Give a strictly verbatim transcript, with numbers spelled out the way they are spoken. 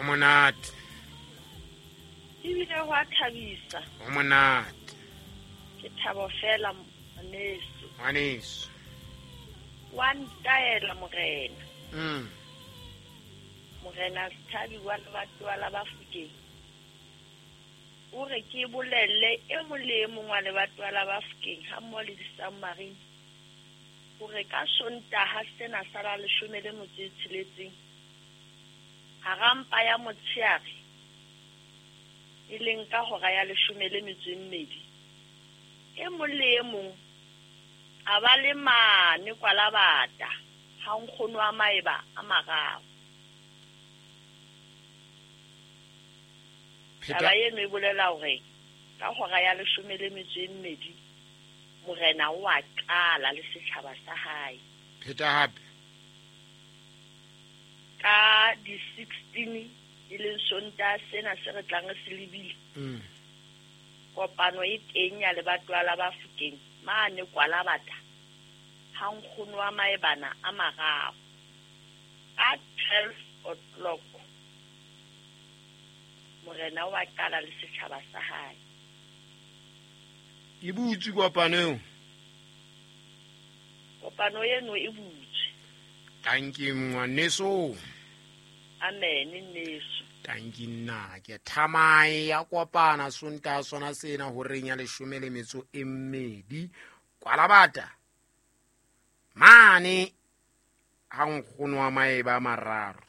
Ho monate. Ebile ho a thabisa. Ho monate. Ke thabo fela ngwaneso. Ngwaneso. Wa ntaela morena. Mm. Morena Sethabi wa lebatowa la Bafokeng. O re ke bolelle e mong le e mong wa lebatowa la Bafokeng ha mmoho le di-submarine hore ka Sontaha sena sa la leshome le motso e tsheletseng hara mpa ya motshehare e leng ka hora ya leshome le metso e mmedi e mong le e mong a ba le mane Kwalabata ha nkgono wa maeba a mararo. Taba eno e bolela hore ka hora ya leshome le metso e mmedi morena o a qala le setjhaba sa hae. Pheta hape. Ka di-sixteen e leng Sontaha sena se re tlang re se lebile. Mm. Kopano e teng ya lebatowa la Bafokeng mane Kwalabata ha nkgono wa maebana a mararo ka twelve o'clock morena o a qala le setjhaba sa hae. E butswe kopano eo? Kopano eno e butswe. Tanki ngwaneso. Amen nneso. Tanki nna ke thamae ya kopana Sontaha sona sena horeng ya leshome le metso e mmedi Kwalabata mane ha nkgono wa maeba a mararo.